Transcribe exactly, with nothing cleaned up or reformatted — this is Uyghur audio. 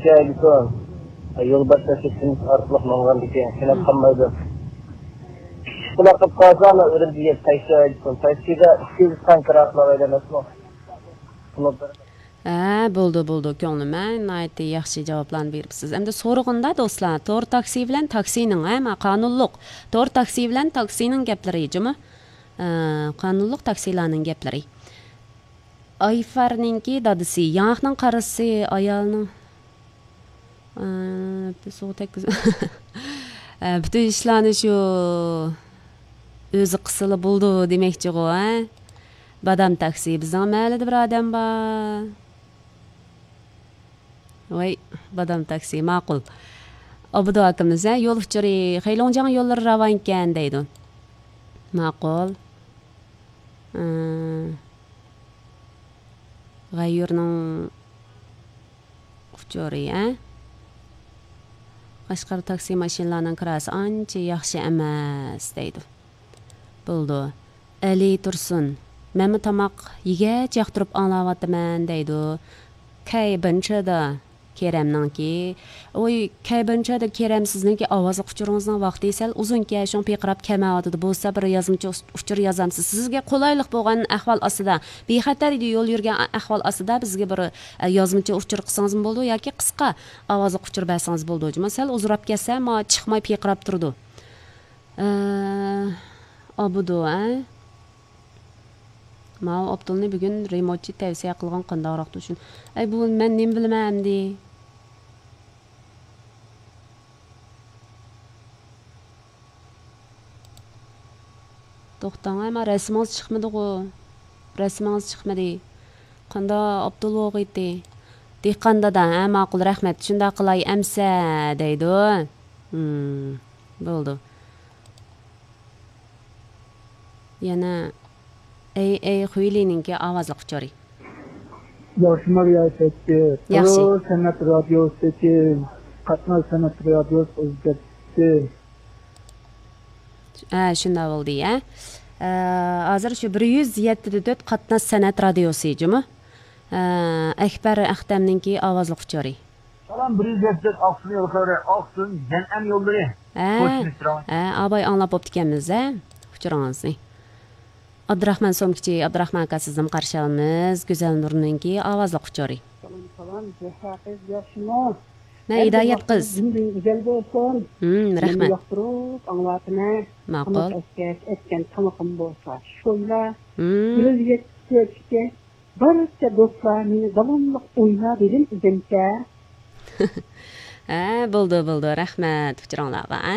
شايدىكۇن، يولباشچى سىستېمىسى ئارقىلىق ماڭغاندىكىن، كېلىپ قالمايدۇ. ئىشقىلار قىلىپ قالسا، مەن ئۈرۈمچىگە تاكسى ھايدىسۇن. تاكسىدا ئىككى يۈز فرانك كىرا قىلالايدۇ ئەمەسمۇ؟ ھە، بولدى، بولدى، كۆڭلۈم، ھە، ناھايىتى ياخشى جاۋابلارنى بېرىپسىز. ئەمدى سورىغىندا، دوستلار، تور تاكسى بىلەن تاكسىنىڭ، ھە، ما، قانۇنلۇق، تور تاكسى بىلەن تاكسىنىڭ گەپلىرى جۇمۇ. ئە، قانۇنلۇق تاكسىلارنىڭ گەپلىرى. ئايفارنىڭكى دادىسى، ياڭاقنىڭ قارىسى، ئايالنىڭ، ئە، سۇغا تەگكۈز-، ئە، پۈتۈن ئىشلارنى شۇ ئۆزى قىلسىلا بولىدۇ دېمەكچىغۇ، ھە؟ بادام تاكسى، بىزنىڭ مەھەللىدە بىر ئادەم بار. ۋاي، بادام تاكسى، ماقۇل. ئابدۇ ئاكىمىز، ھە، يول ئۇچۇرى، خەيلۇڭجياڭ يوللىرى راۋان ئىكەن دەيدۇ. ماقۇل. ئى، غەييۇرنىڭ ئۇچۇرى، ھە؟ قەشقەر تاكسى ماشىنىلارنىڭ كىراسى ئانچە ياخشى ئەمەس دەيدۇ. بولىدۇ. ئەلى تۇرسۇن، مەنمۇ تاماق يېگەچ ياقتۇرۇپ ئاڭلاۋاتىمەن دەيدۇ. كەي بىنچىدا كېرەمنىڭكى. ۋوي، كەي بىنچىدا كېرەم، سىزنىڭكى ئاۋازلىق ئۇچۇرىڭىزنىڭ ۋاقتى سەل ئۇزۇنكەن، شۇڭا پىرقىراپ كەلمەيۋاتىدۇ. بولسا بىر يازمىچە ئۇچۇر يازامسىز. سىزگە قولايلىق بولغان ئەھۋال ئاستىدا، بىخەتەر يول يۈرگەن ئەھۋال ئاستىدا بىزگە بىر، ئە، يازمىچە ئۇچۇر قىلسىڭىزمۇ بولىدۇ ياكى قىسقا ئاۋازلىق ئۇچۇر بەرسىڭىز بولىدۇ. جۇمۇ سەل ئۇزىراپ كەتسە، ما چىقماي پىرقىراپ تۇرىدۇ. ئە، ئابىدۇ، ئە؟ ماۋۇ ئابدۇلنى بۈگۈن رېمونتچى تەۋسىيە قىلغان قانداقراقتۇ شۇ. ئەي، بۇ مەن نېمە بىلىمەن ئەمدى؟ توختاڭ، ئەمما رەسىمىڭىز چىقمىدىغۇ؟ رەسىمىڭىز چىقمىدى. قانداق ئابدۇل بولغىيتى؟ دېھقان دادا، ھە، ماقۇل، رەھمەت، شۇنداق قىلاي ئەمسە، دەيدۇ. ھىم، بولدى. يەنە ئەي، ئەي، خۇيلىنىڭكى ئاۋازلىق ئۇچۇرى. ياخشىمۇ رىياسەتچى؟ ياخشى. تور سەنئەت رادىيوسىدىكى قاتناش سەنئەت رادىيوسى ئۆزگەرتتى. ھە، شۇنداق بولدى، ھە. ئە، ھازىر شۇ بىر يۈز يەتتە دە تۆت قاتناش سەنئەت رادىيوسى جۇمۇ. ئە، ئەكبەر ئەختەمنىڭكى ئاۋازلىق ئۇچۇرى. سالام، بىر يۈز يەتتە ئاقسۇن يوللىرى، ئاقسۇن يەنئەن يوللىرى. ھە، قوشۇلۇش راۋان. ھە، ئاباي ئاڭلاپ بوپتىكەنمىز، ھە، ئۇچۇرىڭىزنى. ئابدۇراخمان سومكىچى، ئابدۇراخمان ئاكا، سىزنىمۇ قارشى ئالىمىز. گۈزەل نۇرنىڭكى ئاۋازلىق ئۇچۇرى. سالام، سالام، زەھرا قىز، ياخشىمۇ؟ مەن ھىدايەت قىز. كۈنىڭىز گۈزەل بولسۇن. ھىم، رەھمەت. ياقتۇرۇپ ئاڭلاۋاتىمەن. ماقۇل. تاماق ئەتكەچ ئەتكەن تامىقىم بولسا شويلا. ھىم. بىر يۈز يەتتە ئىككى. بارچە دوستلار مېنى داۋاملىق ئويلا دېدىم ئۆزۈمچە. ھە، بولدى، بولدى، رەھمەت ئۇچۇرۇڭلارغا، ھە.